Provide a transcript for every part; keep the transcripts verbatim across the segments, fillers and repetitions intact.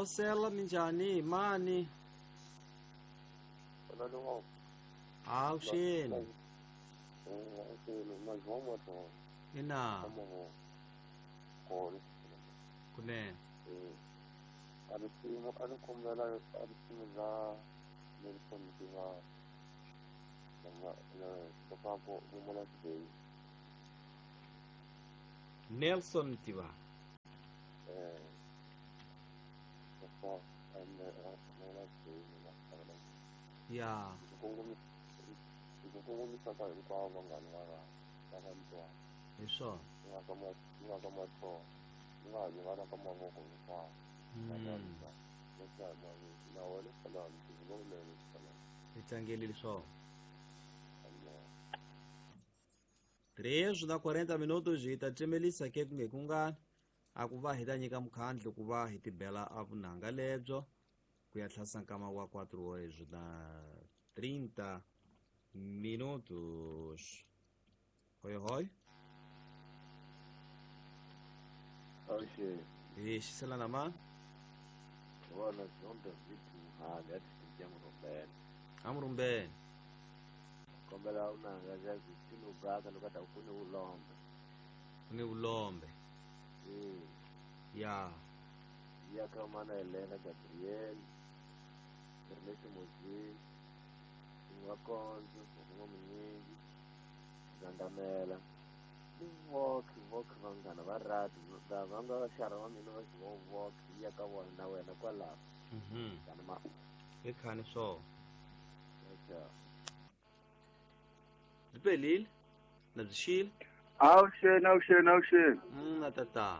Hosela minjhani mani? Avuxeni. Ina. Kunene. Nelson Tiva. Ya. Hi swona. Hi tlangelile swona. Três na quarenta minutos hi ta cemelisa ke ku nge ku ngani a ku va hi ta nyika mukhandlu ku va hi tibela a vunanga lebyo ku ya tlhasa nkama wa quatro horas na trinta minutos. Hoi hoi. Oxe. E xiselana ma? Bona zonke zithu hali athi Murumbeni. Amurumbeni. Kombela unanga zazithini ubrother lokade ufune ulombe. Ufune ulombe. Mm. Ya. Ya kamana Elena Gabriel. Ernesto Mozini. Wakonzo, ngomuningi. Zandamela. Walk, walk vanghana va rati va nga vaxara va mina va xi walk ya ka vona na wena kwalaho. Mhm. Kana ma i khani swona. Acha. Byi na byi xile? Avuxeni, avuxeni, avuxeni. Mm, na tata.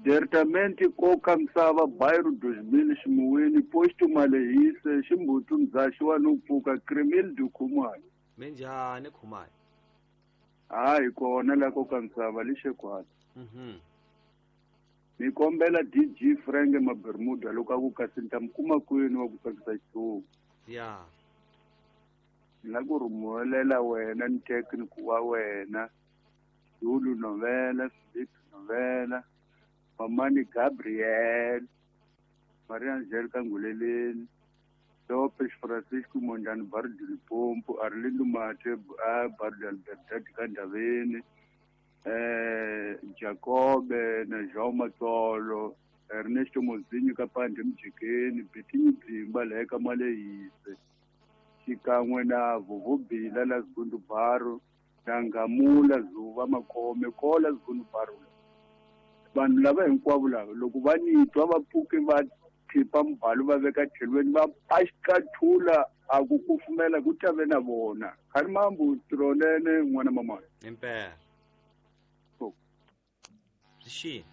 Diretamente koka misava bairro dois mil ximuwini posto Malehise ximbutu mzaxi wa no pfuka Cremil do Khumalo. Minjhani Khumalo? Hayi kona la koka misava lixekwala. Mhm. Ni kombela D G Frank Mabermuda loko a ku kasi ni ta mi kuma kwini wa ku tsakisa xitulu. Ya. Ni la ku rhumulela wena ni technical wa wena Zulu Novela, Philip Novela, Mamani Gabriel, Maria Angelica Nguleleni, Lopes Francisco Mondlane Barro de Limpopo, Arlindo Mate a Barro de Albertati ka Ndaveni, eh Jacobe na João Matsolo, Ernesto Mozinho ka Pande Mjikeni, Bitinyi Bimba la eka Malehise, xikan'we na Vuvubila la Zundu Baro na Ngamula Zuva Makhome kola Zundu Baro. Vanhu lava hinkwavo lava loko va ni twa va pfuke va khipa mbhalo va veka tlhelweni va paxikathula a ku kufumela ku ta ve na vona. Khani mambu tronene n'wana mamana. Impela. Byi xile?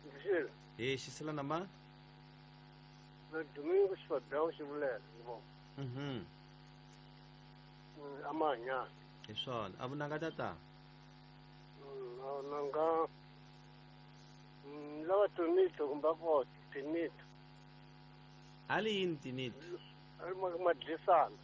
Byi xile. Hi xiselana ma? Na Domingo Xifadao xivulela ni vona. Mhm. Amanya. Hi swona. A vunanga tata? Nanga lava tinito kumbe ko tinito. Ali yini tinito? Ali madlisana.